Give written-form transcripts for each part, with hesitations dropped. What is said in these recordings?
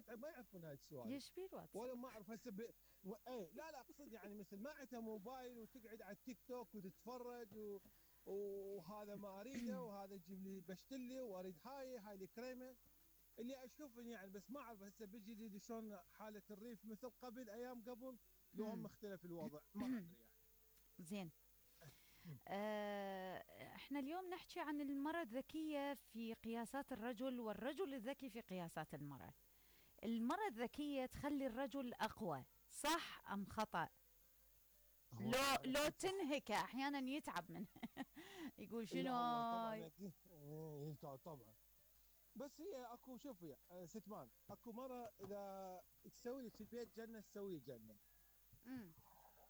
ما يعرفون هاي السوالف. ليش بيه الواتس؟ ولا ما اعرف هسه ايه لا اقصد يعني مثل ما عندها موبايل وتقعد على التيك توك وتتفرج وهذا ما اريده وهذا يجيب لي بشتلي واريد هاي الكريمه اللي اشوف يعني. بس ما اعرف هسه بالجديد شلون حاله الريف مثل قبل ايام قبل لو هم مختلف الوضع ما ادري يعني. زين. احنا اليوم نحكي عن المرأة الذكية في قياسات الرجل والرجل الذكي في قياسات المرأة. المرأة الذكية تخلي الرجل أقوى، صح أم خطأ؟ لو تنهكه أحيانا يتعب منه. يقول شنو لا هو هاي؟ طبعا اكيد طبعا. بس هي اكو شوفي ستمان اكو مره اذا تسوي لك البيت جنه تسوي جنه.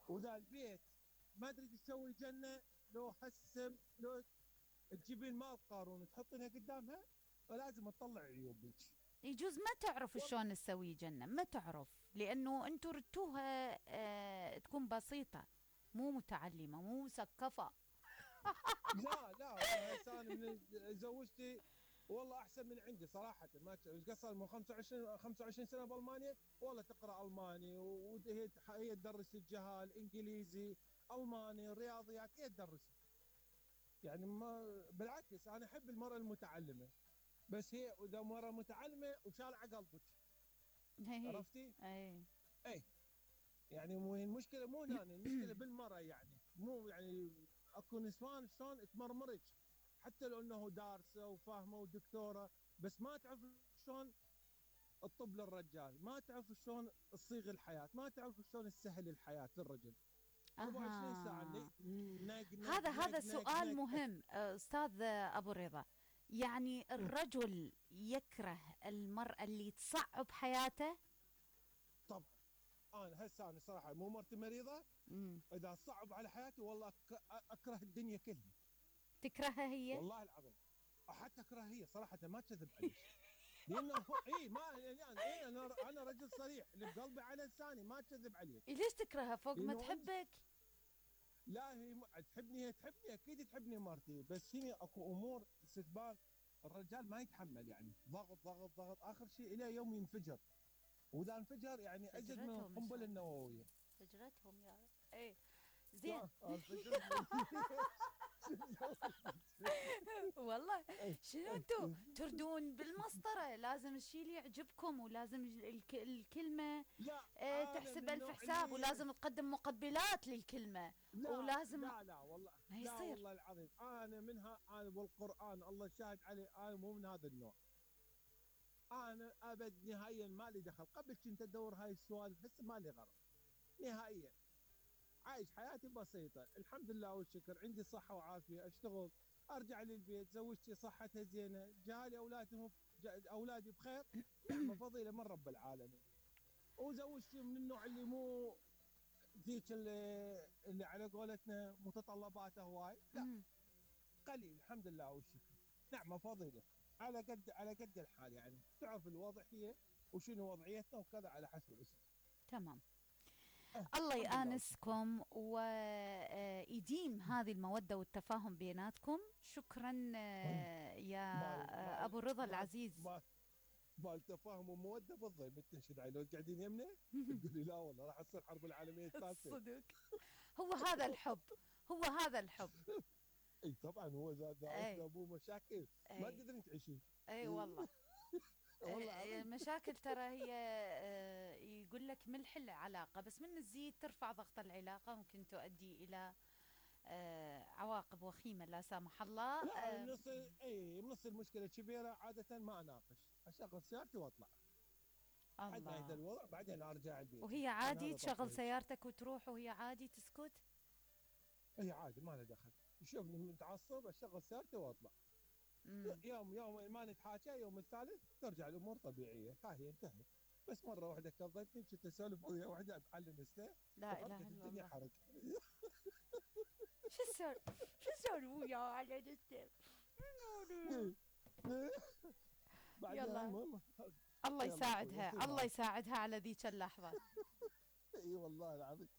واذا البيت ما تريد تسوي جنه لو هسه لو تجيبين مال قارون وتحطينها قدامها فلازم تطلع عيوبك. يجوز ما تعرف شلون تسوي جنة، ما تعرف لأنه أنتوا ردتوها تكون بسيطة، مو متعلمة، مو مثقفة. لا هسه انا من زوجتي والله احسن من عندي صراحه. ما قصر من 25 سنه بالمانيا والله تقرا الماني وهي تدرس الجهال انجليزي الماني رياضيات هي تدرس. يعني ما بالعكس انا احب المراه المتعلمه. بس هي اذا مره متعلمه وشالعه قلبك. عرفتي؟ اي يعني مو المشكله مو هنا المشكله بالمراه يعني مو يعني اكو نسوان شلون تمرمرج حتى لو انه دارسه وفاهمه ودكتوره بس ما تعرف شلون تطب للرجال، ما تعرف شلون تصيغ الحياه، ما تعرف شلون تسهل الحياه للرجل. 24 ساعه هذا سؤال مهم استاذ ابو رضا. يعني الرجل يكره المرأة اللي تصعب حياته؟ طبعا. انا صراحه مو مرتي مريضه اذا صعب على حياتي والله اكره الدنيا كلها. تكرهها هي؟ والله العظيم حتى اكرهها هي صراحه ما اكذب عليك. لانه ما يعني انا رجل صريح اللي بقلبي على لساني ما اكذب عليك. ليش تكرهها فوق ما تحبك؟ لا هي تحبني اكيد تحبني مرتي بس هي اكو امور استثبات الرجال ما يتحمل يعني ضغط اخر شيء الى يوم ينفجر. واذا انفجر يعني ازيد من القنبله النوويه. فجرتهم يا رب. ايه زين. والله شنو انتم تردون بالمسطره؟ لازم الشيء يعجبكم ولازم الكلمه تحسب الف حساب ولازم تقدم مقبلات للكلمه ولازم لا والله ما يصير. لا والله العظيم انا منها انا والقران الله شاهد علي انا مو من هذا النوع. انا ابد نهائيا ما لي دخل. قبل كنت ادور هاي السوالف هسه ما لي غرض نهائيا. عايش حياتي بسيطه الحمد لله والشكر عندي صحه وعافيه اشتغل ارجع للبيت زوجتي صحتها زينه جهالي اولادي بخير نعمه فضيله من رب العالمين. وزوجتي من النوع اللي مو ذيك اللي على قولتنا متطلباته هواي لا قليل الحمد لله والشكر نعمه فضيله على قد الحال يعني تعرف الوضع هي وشنو وضعيتنا وكذا على حسب الاسم. تمام. الله يآنسكم ويديم هذه المودة والتفاهم بيناتكم. شكرا يا أبو الرضا العزيز. بالتفاهم ومودة بالضبط بتنشد علي لو قاعدين يمنا تقولي لا والله راح تصير الحرب العالمية الثالثة. صدق. هو هذا الحب، هو هذا الحب. اي طبعا هو زاد ابوه مشاكل ما تقدرين تعيشين. اي والله. المشاكل ترى هي يقول لك ملح العلاقة بس من تزيد ترفع ضغط العلاقة ممكن تؤدي إلى عواقب وخيمة لا سامح الله. لا نص المشكلة كبيرة عادة ما اناقش اشغل سيارتي واطلع. الله هذا الوضع بعدين ارجع البيت. وهي عادي تشغل سيارتك وتروح وهي عادي تسكت؟ هي عادي ما لها دخل. يشوفني متعصب اشغل سيارتي واطلع. يوم ما نتحاكى يوم الثالث ترجع الامور طبيعيه هي انتهت. بس مره واحده كضتني كنت اسولف ويا واحده على الانستا لا اله الا الدنيا الله. حرق. شو صار ويا على الانستا؟ يلا الله يساعدها الله يساعدها على ذيك اللحظه. اي والله العظيم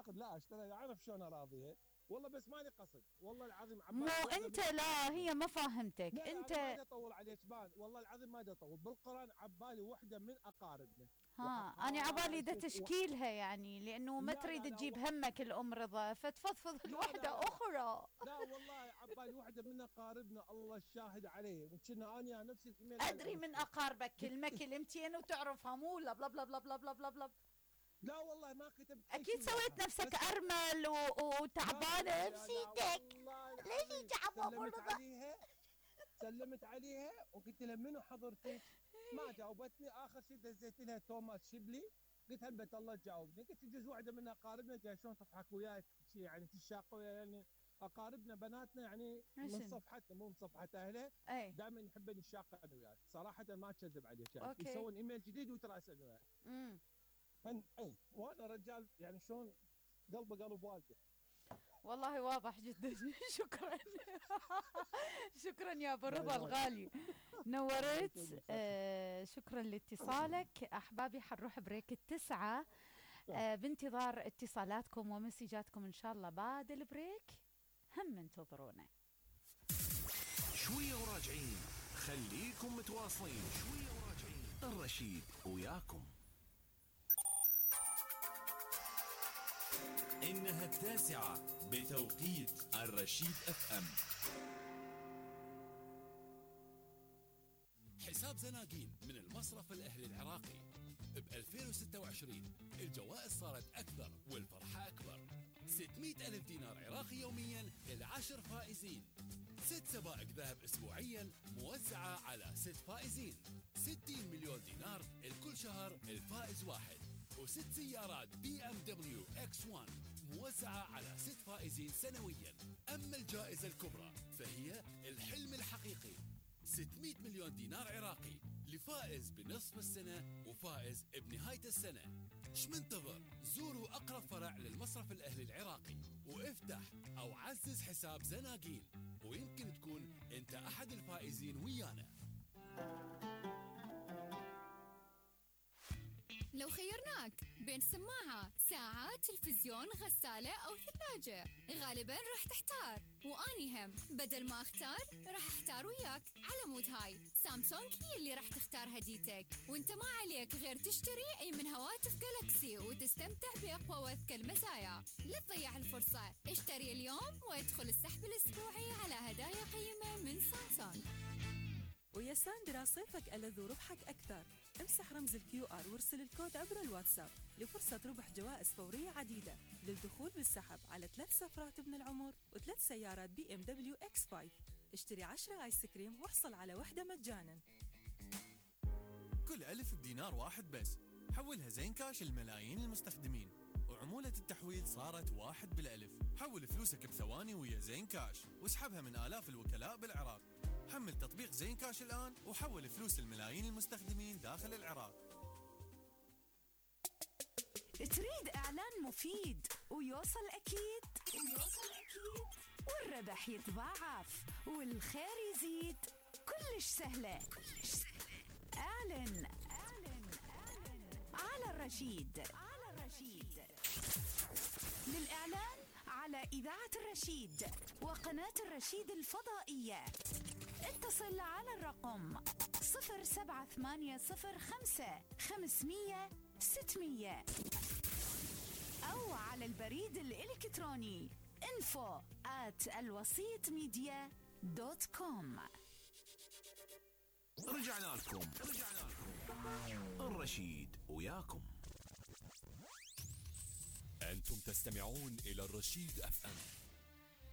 لا اشتري اعرف شلون اراضيها والله بس ماني قصد والله العظيم مو انت، لا هي ما فاهمتك لا انت. ما اطول عليك بان، والله العظيم ما اطول. بالقران عبالي وحده من اقاربنا. ها انا عبالي دا تشكيلها يعني، لانه ما تريد تجيب همك الام رضا، فتفضفض لوحده اخرى. لا والله عبالي وحده من اقاربنا، الله الشاهد عليه، وكنا انا نفس الايميل. ادري من اقاربك كلمتين وتعرفها، مو لا بلا بلا بلا بلا بلا بلا بلا. لا والله ما كتبت. اكيد سويت نفسك ارمل وتعبانه بسيدك. ليش تعبانه؟ سلمت عليها وقلت لها منو حضرتك؟ ما جاوبتني. اخر شيء دزيت لها توماس شبلي، قلت هلبت الله تجاوبني. قلت يجوز واحده من اقاربنا جاي شلون تضحك وياي يعني تشاق وياي، يعني اقاربنا بناتنا يعني من صفحتنا مو من صفحه اهله، دائما يحبون يشاقون وياي صراحه، ما اكذب عليك يعني. يسوون ايميل جديد ويتراسلون وياي. اي وانا رجال يعني شلون قلبه قلب والده. والله واضح جدا. شكرا. شكرا يا ابو رضا الغالي، نورت. شكرا لاتصالك. احبابي حنروح بريك التسعة، بانتظار اتصالاتكم ومسجاتكم ان شاء الله. بعد البريك هم انتظرونا شوية وراجعين، خليكم متواصلين. شوية وراجعين، الرشيد وياكم. إنها 9 بتوقيت الرشيد FM. حساب زناقين من المصرف الأهلي العراقي ب 2026 الجوائز صارت أكثر والفرحة أكبر. 600,000 دينار عراقي يوميا ل10 فائزين، 6 سبائك ذهب أسبوعيا موزعة على 6 فائزين، 60 مليون دينار لكل شهر الفائز واحد، و6 سيارات BMW X1 موزعة على 6 فائزين سنويا. أما الجائزة الكبرى فهي الحلم الحقيقي، 600 مليون دينار عراقي لفائز بنصف السنة وفائز بنهاية السنة. ايش منتظر؟ زوروا أقرب فرع للمصرف الأهلي العراقي وافتح أو عزز حساب زناقين، ويمكن تكون أنت أحد الفائزين ويانا. لو خيرناك بين سماعة، ساعة، تلفزيون، غسالة أو ثلاجة، غالباً راح تحتار، وأني هم بدل ما أختار راح أحتار وياك. على مود هاي سامسونج هي اللي راح تختار هديتك، وانت ما عليك غير تشتري أي من هواتف جالكسي وتستمتع بأقوى وأذكى المزايا. لا تضيع الفرصة، اشتري اليوم وادخل السحب الأسبوعي على هدايا قيمة من سامسونج. ويا ساندرا صيفك ألذ وربحك أكثر. امسح رمز الQR وارسل الكود عبر الواتساب لفرصة ربح جوائز فورية عديدة للدخول بالسحب على 3 سفرات ابن العمر و3 سيارات BMW X5. اشتري 10 آيس كريم واحصل على واحدة مجانا. كل ألف بدينار واحد بس، حولها زين كاش لملايين المستخدمين، وعمولة التحويل صارت 1 بالألف. حول فلوسك بثواني ويا زين كاش واسحبها من آلاف الوكلاء بالعراق. حمل تطبيق زين كاش الآن وحول فلوس الملايين المستخدمين داخل العراق. تريد إعلان مفيد ويوصل أكيد والربح يتضاعف والخير يزيد؟ كلش سهلة. اعلن على الرشيد. للإعلان على إذاعة الرشيد وقناة الرشيد الفضائية اتصل على الرقم 07805 أو على البريد الإلكتروني info@alwasitmedia.com. رجعنا لكم. الرشيد وياكم. أنتم تستمعون إلى الرشيد FM.